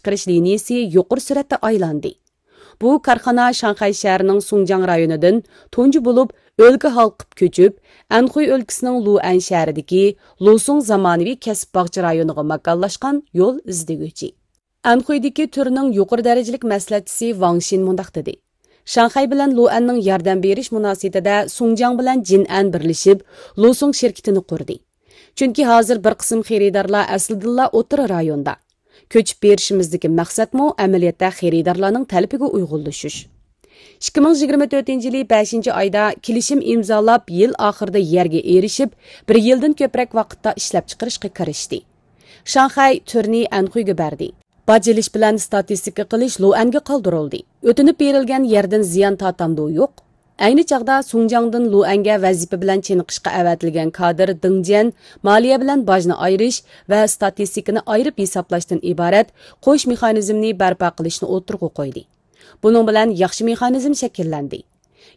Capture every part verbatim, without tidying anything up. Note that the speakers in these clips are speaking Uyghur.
چىقىرىش لىنىيىسى يۇقىرى سۈرئەتتە ئايلاندى. بۇ كارخانا شاڭخەي شەھىرىنىڭ سۇڭجياڭ رايونىدىن تۇنجى بولۇپ ئۆلكە ھالقىپ كۆچۈپ، ئەنخۇي ئۆلكىسىنىڭ لۇئەن شەھىرىدىكى لۇسۇڭ زامانىۋى كەسىپ باغچە رايونىغا ماكانلاشقان يول ئىزدىگۈچى. ئەنخۇيدىكى تۈرنىڭ يۇقىرى دەرىجىلىك مەسلىھەتچىسى ۋاڭ شىن مۇنداق دېدى: شاڭخەي بىلەن لۇئەننىڭ ياردەم بېرىش مۇناسىۋىتىدە سۇڭجياڭ بىلەن جىنئەن بىرلىشىپ، لۇسۇڭ شىركىتىنى قۇردى. چۈنكى ھازىر بىر قىسىم خېرىدارلار ئەسلىدىنلا ئوتتۇرا رايوندا. كۆچۈپ بېرىشىمىزدىكى مەقسەتمۇ ئەمەلىيەتتە خېرىدارلارنىڭ تەلىپىگە ئۇيغۇنلىشىش. ئىككى مىڭ يىگىرمە تۆتىنچى يىلى بەشىنچى ئايدا كېلىشىم ئىمزالاپ، يىل ئاخىرىدا يەرگە ئېرىشىپ، بىر يىلدىن كۆپرەك ۋاقىتتا ئىشلەپچىقىرىشقا كىرىشتى. شاڭخەي تۈرنى ئەنخۇيگە بەردى. باج ئېلىش بىلەن ستاتىستىكا قىلىش لۇئەنگە قالدۇرۇلدى. ئۆتۈنۈپ بېرىلگەن يەردىن زىيان تارتامدۇ يوق؟ ئەينى چاغدا سۇڭجياڭدىن لۇئەنگە ۋەزىپە بىلەن چېنىقىشقا ئەۋەتىلگەن كادىر دېڭ جيەن مالىيە بىلەن باجنى ئايرىش ۋە ستاتىستىكىنى ئايرىپ ھېسابلاشتىن ئىبارەت قوش مېخانىزمنى بەرپا قىلىشنى ئوتتۇرىغا قويدى. بۇنىڭ بىلەن ياخشى مېخانىزم شەكىللەندى.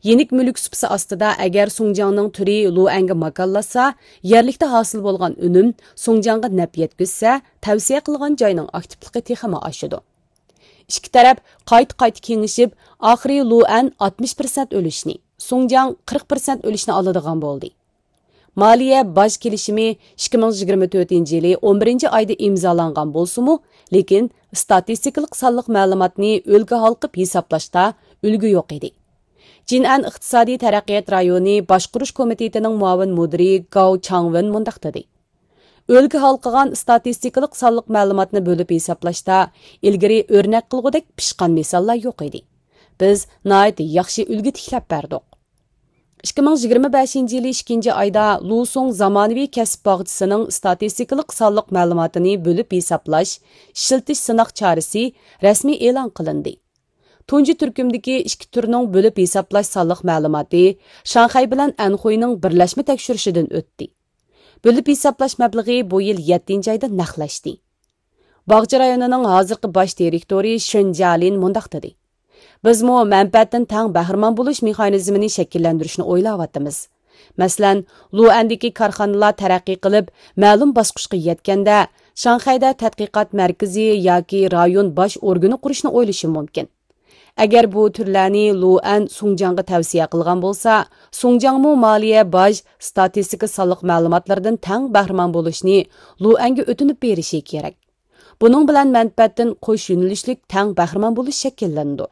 يېنىك مۈلۈك سۇپىسى ئاستىدا ئەگەر سۇڭجياڭنىڭ تۈرى لۇئەنگە ماكانلاشسا، يەرلىكتە ھاسىل بولغان ئۈنۈم سۇڭجياڭغا نەپ يەتكۈزسە، تەۋسىيە قىلغان جاينىڭ ئاكتىپلىقى تېخىمۇ ئاشىدۇ. ئىككى تەرەپ قايتا-قايتا كېڭىشىپ، ئاخىرى لۇئەن ئاتمىش پىرسەنت ئۈلۈشنى، سۇڭجياڭ قىرىق پىرسەنت ئۈلۈشنى ئالىدىغان بولدى. مالىيە باج كېلىشىمى ئىككى مىڭ يىگىرمە تۆتىنچى يىلى ئون بىرىنچى ئايدا ئىمزالانغان بولسىمۇ، لېكىن ستاتىستىكىلىق سانلىق مەلۇماتنى ئۆلكە ھالقىپ ھېسابلاشتا ئۈلگە يوق ئىدى. جىنئەن ئىقتىسادىي تەرەققىيات رايونى باشقۇرۇش كومىتېتىنىڭ مۇئاۋىن مۇدىرى گاۋ چاڭۋېن مۇنداق دېدى: ئۆلكە ھالقىغان ستاتىستىكىلىق سانلىق مەلۇماتنى بۆلۈپ ھېسابلاشتا ئىلگىرى ئۆرنەك قىلغۇدەك پىشقان مىساللار يوق ئىدى. بىز ناھايىتى ياخشى ئۈلگە تىكلەپ بەردۇق. ئىككى مىڭ يىگىرمە بەشىنچى يىلى ئىككىنچى ئايدا لۇسۇڭ زامانىۋى كەسىپ باغچىسىنىڭ ستاتىستىكىلىق سانلىق مەلۇماتىنى بۆلۈپ ھېسابلاش، ئىشلىتىش سىناق چارىسى رەسمىي ئېلان قىلىندى. تۇنجى تۈركۈمدىكى ئىككى تۈرنىڭ بۆلۈپ ھېسابلاش سانلىق مەلۇماتى شاڭخەي بىلەن ئەنخۇينىڭ بىرلەشمە تەكشۈرۈشىدىن ئۆتتى. بۆلۈپ ھېسابلاش مەبلىغى بۇ يىل يەتتىنچى ئايدا نەقلەشتى. باغچە رايونىنىڭ ھازىرقى باش دىرېكتورى شېن جيالىن مۇنداق دېدى: بىزمۇ مەنپەئەتتىن تەڭ بەھرىمەن بولۇش مېخانىزمىنى شەكىللەندۈرۈشنى ئويلاۋاتىمىز. مەسىلەن، لۇئەندىكى كارخانىلار تەرەققىي قىلىپ، مەلۇم باسقۇچقا يەتكەندە، شاڭخەيدە تەتقىقات مەركىزى ياكى رايون باش ئورگىنى قۇرۇشنى ئويلىشى مۇمكىن. ئەگەر بۇ تۈرلەرنى لۇئەن سۇڭجياڭغا تەۋسىيە قىلغان بولسا، سۇڭجياڭمۇ مالىيە، باج، ستاتىستىكا سانلىق مەلۇماتلىرىدىن تەڭ بەھرىمەن بولۇشنى لۇئەنگە ئۆتۈنۈپ بېرىشى كېرەك. بۇنىڭ بىلەن مەنپەئەتتىن قوش يۆنىلىشلىك تەڭ بەھرىمەن بولۇش شەكىللىنىدۇ.